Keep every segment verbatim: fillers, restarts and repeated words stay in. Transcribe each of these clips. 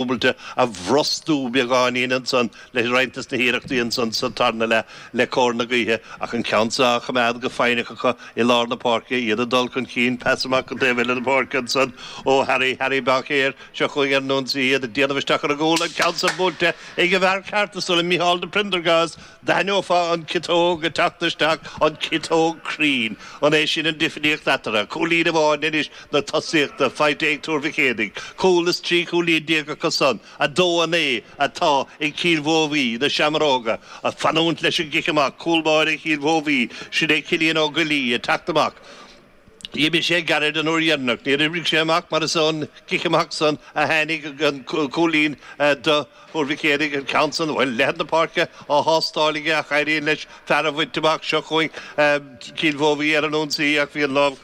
Dúbailte a bhrostú beagáinín ansan le roinnt des na hiarrachtaí ansan sa tarna leath le cóir na gaoithe ach an ceann seo á choimeád go foighneach acu i lár na páirce, iad ag dul chun cinn, pas amach an taobh eile den pháirc ansan ó Harry, Harry Baincéir, seo chugainn ar an ionsaí, iad ag déanamh isteach ar an gcúl, an ceann san buailte ag an bhfear ceart is dóigh liom, Micheál de Prendergast, d'aithneofá an ciotóg ag teacht isteach, an ciotóg cruinn, an é sin an difríocht eatarthu? Cúilín amháin anois na tosaíochta faighte ag Tuar Mhic Éadaigh, cúl is trí chúilín déag acu san, a dó a naoi atá ag Cill Mhóibhí, na Seamróga, ag fanúint leis an gcic amach, cúl báire Chill Mhóibhí, sin é Cillian Ó Goillí ag teacht amach. D'imigh sé gairid an uair dheireanach, níor oibrigh sé amach mar is ón gcic amach san a tháinig an cúilín do Thuar Mhic Éadaigh, an ceann san, bhuel, leithead na páirce á thástáil aige ach éiríonn leis fear a bhaint amach. Seo chugainn Cill Mhóibhí ar an ionsaí ach bhí an lámh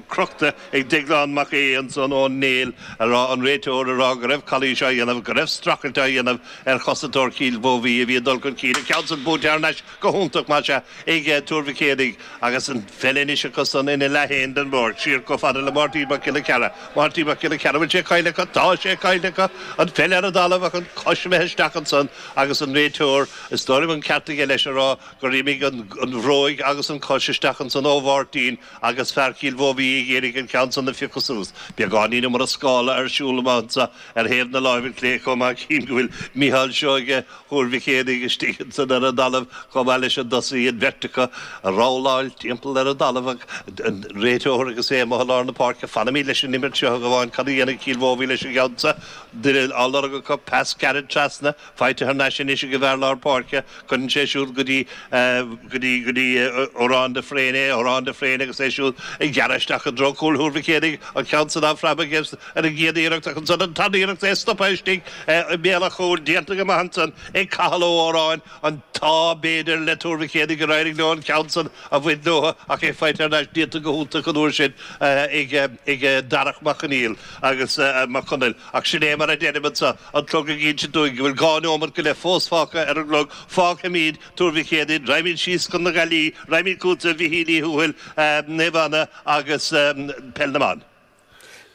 crochta ag Deaglán Mac Aodha ansan ón néal a raibh an réiteoir ag rá go raibh calaois á dhéanamh, go raibh streachailt á dhéanamh ar chosantóir Chill Mhóibhí a bhí ag dul chun cinn. An ceann san buaite thar n-ais go hiontach, más ea, ag Tuar Mhic Éadaigh agus an pheil anois acu san ina leath féin den bpáirc, siar chomh fada le Máirtín Mac Giolla Chearra. Máirtín Mac Giolla Chearra, bhfuil sé caillte acu? Tá sé caillte acu! An pheil ar an dtalamh ach an chois imithe isteach ansan agus an réiteoir, is dóigh liom an ceart aige leis a rá gur imigh an bhróig agus an chois isteach ansan ó Mháirtín agus fear Chill Mhóibhí ag iarraidh an ceann san a phiocadh suas. Beagáinín iomrascála ar siúl amuigh anso ar thaobh na láimhe clé chomh maith. Cím go bhfuil Micheál Seoige Thuar Mhic Éadaigh istigh ansan ar an dtalamh chomh maith leis an dtosaí, an bheirt acu ag rolláil timpeall ar an dtalamh ach an réiteoir agus é amuigh i lár na páirce. Fanfaimid leis an imirt seo a Ghabháin. Cad a dhéanfaidh Cill Mhóibhí leis an gceann seo? Duine á lorg acu, pas gairid trasna, faighte thar n-ais anois ag an bhfear lár páirce. Cuireann sé siúd go dtí go dtí go dtí Odhrán de Fréine é, Odhrán de Fréine agus é siúd ag gearradh isteach i dtreo cúl Thuar Mhic Éadaigh, an ceann san á phreabadh aige ar an gcéad iarracht ach ansan an tarna iarracht é stoptha istigh i mbéal an chúil, déanta go maith ansan ag Cathal Ó Odhráin, an t-ádh b'fhéidir le Tuar Mhic Éadaigh gur éirigh leo an ceann san a bhaint leo ach é faighte thar n-ais, déanta go hiontach an uair sin ag ag Darach Mac Conaill agus Mac Conaill ach sin é mar a deirim anso, an clog ag insint dúinn go bhfuil dhá neomat go leith fós fágtha ar an gclog, fágfaimid Tuar Mhic Éadaigh, raghaimid síos chun na Gaillimhe, raghaimid chugatsa a Mhichíl Uí Thuathail, Naomh Anna agus Peil na mBan.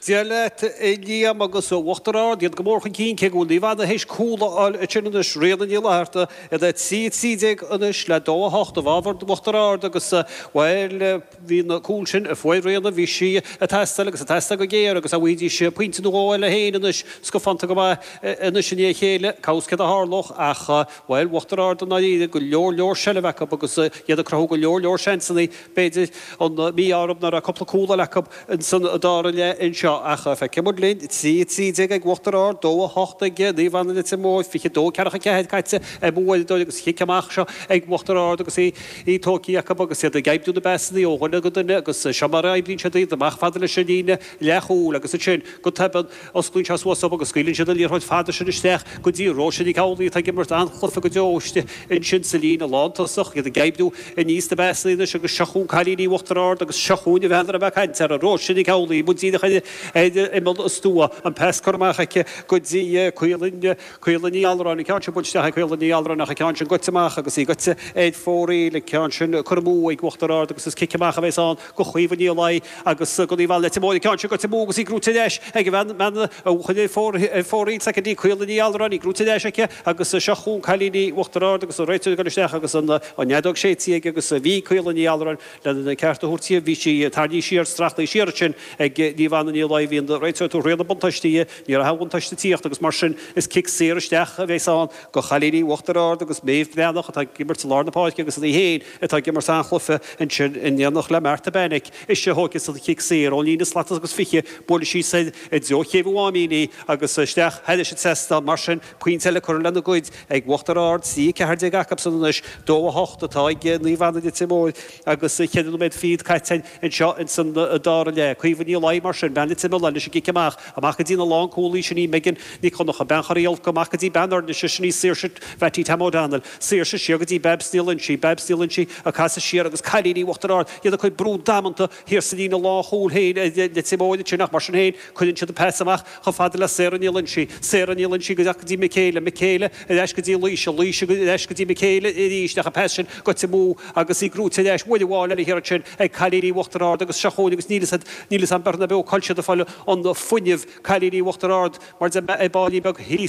Dia leat, a Liam, agus Uachtar Ard, iad go mór chun cinn, cé go bhfuil Naomh Anna théis cúl a fháil ansin anois, Ríona Ní Fhlatharta, iad a trí a trí déag anois le dó a hocht i bhfabhar Uachtar Ard agus, bhuel, bhí an cúl sin a fuair Ríona, bhí sí ag teastáil agus ag teastáil go géar agus dá bhfaighidís pointe nó dhó eile féin anois, scafánta go maith anois i ndiaidh a chéile, cá bhfios céard a tharlódh ach, bhuel, Uachtar Ard i ndáiríre, go leor leor seilbh acu agus iad ag cruthú go leor leor seansanna, b'fhéidir an mí-ádh orthu nach raibh cúpla cúl eile acu insan dara leath anseo ach feicfidh muid linn, trí a trí déag ag Uachtar Ard, dó a hocht ag Naomh Anna Leitir Móir, fiche dó ceathracha ceathair caite ar mo uaireadóir agus chic amach seo ag Uachtar Ard agus í í tógtha acu agus iad ag oibriú na bpasanna ó dhuine go duine agus seo mar a oibríonn siad iad amach fada leis an líne leathchúil agus ansin go tobann osclaíonn sé suas dóibh agus scaoileann siad an liathróid fada sin isteach go dtí Róise Nic Amhlaoibh atá ag imirt an-chluiche go deo istigh ansin sa líne lántosach, iad ag oibriú aníos na bpasanna anois agus seo chugainn cailíní Uachtar Ard agus seo chugainn an bhean a raibh mé ag caint uirthi, Róise Nic Amhlaoibh, amuigh díreach ar imeall an stua, an pas curtha amach aici go dtí Caolann, Caolann Ní Allúráin, an ceann sin buailte isteach ag Caolann Ní Allúráin ach an ceann sin goite amach agus í goite ar fóraoil, an ceann sin curtha amú ag Uachtar Ard agus is cic amach a bheas ann do Chaoimhe Ní Laoi agus do Naomh Anna Leitir Móir, an ceann sin goite amú agus í gnóite ar ais ag an bhean, bean a chuir ar fóraoil soicind í Caolann Ní Allúráin, í gnóite ar ais aici agus seo chugainn cailíní Uachtar Ard agus an réiteoir ag dul isteach agus an fheadóg séidte aige agus bhí Caolann Ní Allúráin lena ceart a thabhairt di, bhí sí tarraingthe siar, streachtaithe siar ansin ag Naomh Anna Ní Laoi, bhí an réiteoir ag tabhairt rian an bhuntáiste di, ní raibh aon bhuntáiste ag tíocht agus mar sin is cic saor isteach a bheas ann do chailíní Uachtar Ard agus Méabh Breathnach atá ag imirt i lár na páirce agus í féin atá ag imirt an-chluiche ansin in éineacht le Martha Bannick. Ise a thógfas an chic saor ón líne slat agus fiche, buailfidh sí soir i dtreo Chéibh an Mháimín í agus isteach thairis an trasnán. Mar sin, pointe eile curtha lena gcuid ag Uachtar Ard, trí a ceathair déag acusan anois, dó a hocht atá ag Naomh Anna Leitir Móir agus ceithre nóiméad fichead caite anseo ins an dara leath. Caoimhe Ní Laoi mar sin, bean Leitir Mealláin leis an gcic amach, amach go dtí na lánchúlaí, sin í Megan Nic Dhonncha, bean Chorr Uí Fholca, amach go dtí bean Fhoirnise, sin í Saoirse Mhattie Tam O'Donnell, Saoirse siar go dtí Babs Ní Loinsigh, Babs Ní Loinsigh ag casadh siar agus cailíní Uachtar Ard, iad ag cur brú damanta thiar sa líne lánchúil féin ar Leitir Móir ansin ach mar sin féin cuireann siad an pas amach chomh fada le Sarah Ní Loinsigh, Sarah Ní Loinsigh go dtí Michaela, Michaela ar ais go dtí Laoise, Laoise ar ais go dtí Michaela arís ach an pas sin goite amú agus í gnóite ar ais uair amháin eile thiar ansin ag cailíní Uachtar Ard agus seo chugainn agus níl fhios a'd, níl fhios a'm beirt ná beo cá bhfuil siad ag fáil an fuinneamh, cailíní Uachtar Ard mar a deir mé ag báillín beag thíos.